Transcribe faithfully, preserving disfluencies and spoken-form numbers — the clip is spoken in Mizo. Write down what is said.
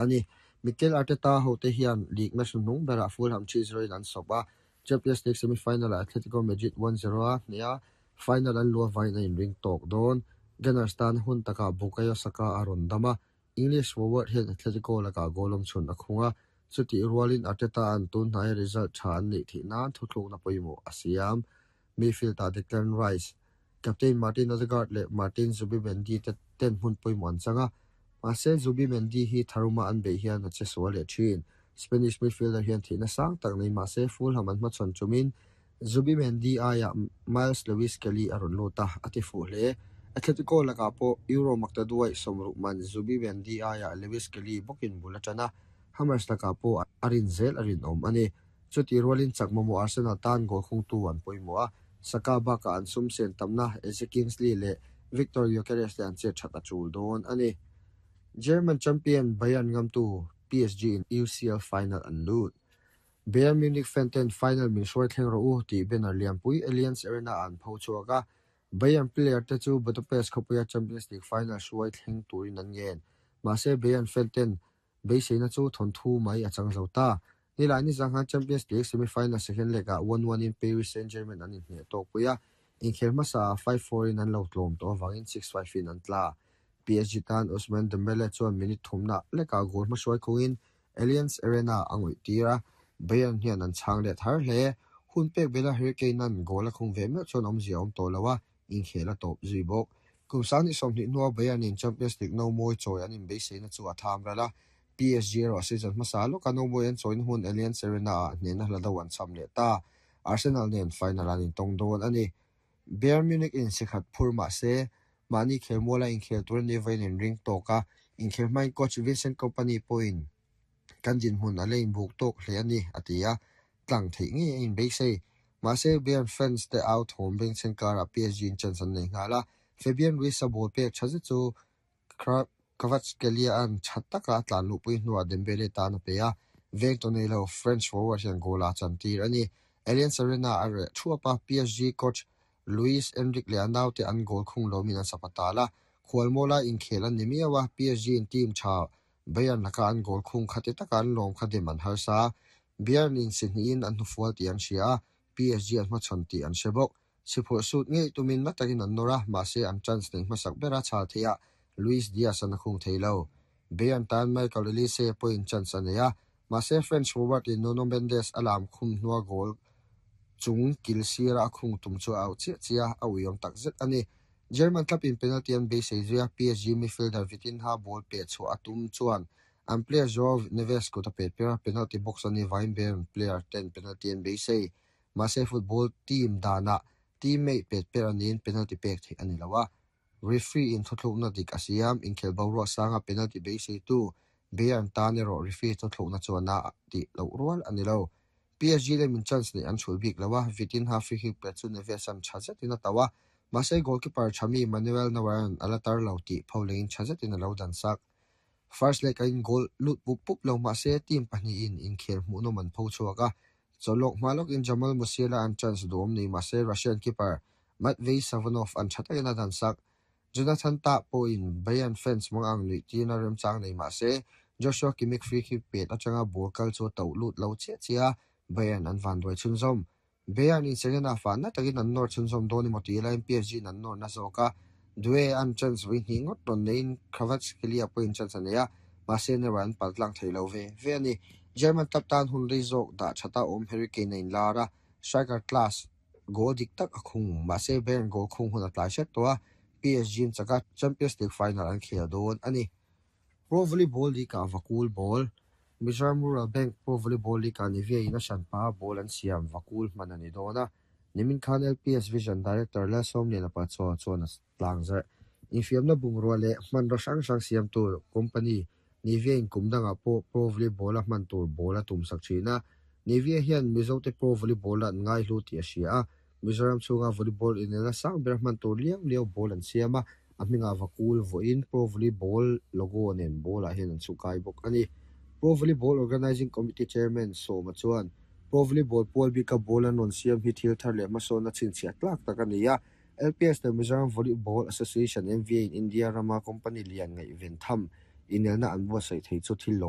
Ani Mikel Arteta hote hian league match hnuhnung berah Fulham three zero in an sawp a, Champions League semi-final ah Atletico Madrid one zero a hneha final an luah vangin a inring tawk dawn. Gunners tan hun takah Bukayo Saka a rawn dam a, English forward hian Atletico lakah goal awm chhun a khung a, chutih rualin Arteta an tun hnaia result tha an neih theih nan thuthlukna pawimawh a siam. Midfield ah Declan Rice, captain Martin Odegaard leh Martin Zubimendi te ten hmun pawimawh an chang a, mahse Zubimendi hi tharuma an beih hian a che sual leh thin. Spanish midfielder hian theihna sang tak nei mahse Fulham an hmachhawn tumin Zubimendi aiah Myles Lewis-Skelly a rawn lut a, a ti fuh hle. Atletico lakah pawh Euro maktaduai sawmruk man Zubimendi aiah Lewis-Skelly bawkin bul a tan a, Hammers lakah pawh a rin zel a rinawm a ni. Chutih rualin chak mamawh Arsenal tan goal khungtu an pawimawh a, Saka bakah an sum sen tamna Eze Kingsley leh Victor Gyokeres te an chet that a tul dawn a ni. German champion Bayern ngamtu P S G in U C L final an lut. Bayern Munich fan ten final min hruai thleng rawh u tih banner lianpui Allianz Arena an pho chhuak a, Bayern player te chu Budapest khawpuia Champions League final hruai thleng turin an ngen. Mahse Bayern fan ten beiseina chu thawn thu mai a chang zo ta. Nilai ni zanghan Champions League semi-final second leg ah one one in Paris Saint-Germain an inhne tawk pui a, inkhel hmasa five four in an lo tlawm tawh awangin six five in an tla. P S G tan Ousmane Dembele chuan minute thumna leka goal hmahruai khungin Allianz Arena a ngawih tir a, Bayern hian an chhang leh thar hle. Hun pek bela Harry Kane an goal a khung ve meuh chuan awmzia awm tawh lo a, inkhel a tawp zui bawk. Kum sang ni sawmhnih hnuah Bayern in Champions League no mawi chawi an inbeisei na chu a tham ral a, P S G erawh season hmasa lawka no mawi an chawina hmun Allianz Arena ah hnehna hla do an cham leh ta. Arsenal nen final an intawng dawn a ni. Bayern Munich in sikhat phur mahse mahni khelmuala inkhel tur ani vawiin inring tawk a, inkhel hmain coach Vincent Kompany pawhin kan dinhmun a la inbuk tawk hle a ni a ti a, tlang theih nge a inbeisei. Mahse Bayern fans te au thawm bengchheng karah P S G in chance an nei nghal a, Fabian Ruiz a ball pek tha zet chu Kvaratskhelia an tha taka a tlan luhpui hnuah Dembele tan a pe a, veng tawh nei lo French forward hian goal a chan tir a ni. Allianz Arena a reh thuap a, P S G coach Luis Enrique leh a naute an goal khung lomin an sapa tal a, khualmawla inkhel an ni miau a, P S G in team tha Bayern laka an goal khung khati taka an lawm kha dem an harsa. Bayern in sihnihin an hnufual tih an hria a, P S G an hmachhawn tih an hre bawk. Siphurh sut ngei tumin na takin an nawr a, mahse an chance nei hmasak bera chhal theih a, Luis Diaz an a khung thei lo. Bayern tan Michael Olise pawhin chance a nei a, mahse French forward in Nuno Mendes a lam khum hnua goal chung kil sira a khung tum chu a au chiah chiah a uiawm tak zet a ni. German club in penalty an beisei zui a, P S G midfielder Vitinha ball pe chhuah a tum chuan an player Joao Neves kut a pet per a, penalty box ani vangin Bayern player ten penalty an beisei. Mahse football team danah teammate pet per aniin penalty pek theih ani lo a, referee in thuthlukna dik a siam, inkhel boruak sanga penalty beisei tu Bayern tan erawh referee thuthlukna chuan a tih loh rual ani lo. P S G lemin chance nei an chhul bik lo a, Vitinha free kick pet chu Neves an tha zetin a tauh a, mahse goalkeeper Thami Manuel Neuer an ala tar lo tih pholengin tha zetin a lo dan sak. First leg a in goal lut pup pup lo mahse team pahnih in inkhel hmuhnawm an pho chhuak a, chawlawk hma lawkin Jamal Musiala an chance duhawm nei mahse Russian keeper Matvei Safonov an tha takin a dan sak. Jonathan Tah pawhin Bayern fans mang ang nuih tirna remchang nei mahse Joshua Kimmich free kick pet atanga ball kal chu tauh lut lo chiah chiah a, Bayern an van duai chhunzawm. Bayern in second half ah na takin an nawr chhunzawm dawn emaw tih laiin P S G in an nawr na zawk a, Due an chance vawi hnih ngawt rawn neiin Kvaratskhelia pawhin chance a nei a, mahse Neuer an pal tlang thei lo ve ve a ni. German club tan hun rei zawk dah thata awm Harry Kane a inlar a, striker class goal dik tak a khung, mahse Bayern goal khung hun a tlai hret tawh a, P S G in chaka Champions League final an khel dawn a ni. Pro Volleyball League ah Vakul ball, Mizoram Rural Bank Pro Volleyball League ah Nivea in a hranpa ball an siam Vakul hman ani dawn a, Nimin Khan L P S Vision Director Lalsawmliana Pachuau chuan a tlang zarh. Infiamna bungrua leh hmanraw hrang hrang siam tur company Nivea in kum dangah pawh Pro Volleyball a hman tur ball a tum sak thin a, Nivea hian Mizote Pro Volleyball an ngai hlu tih a hria a, Mizoram chhunga volleyball inelna sang ber hman tur liau liau ball an siam a, a hmingah Vakul vawiin Pro Volleyball logo nen ball ah hian an chhukai bawk a ni. Pro Volleyball Organizing Committee Chairman Sawma chuan Pro Volleyball pual bika ball an rawn siam hi thil thar leh hmasawn a chhinchhiah tlak tak a ni a, L P S leh Mizoram Volleyball Association M V A in India rama company lian ngaih ven tham Inelna an buatsaih thei chu thil lawmawm.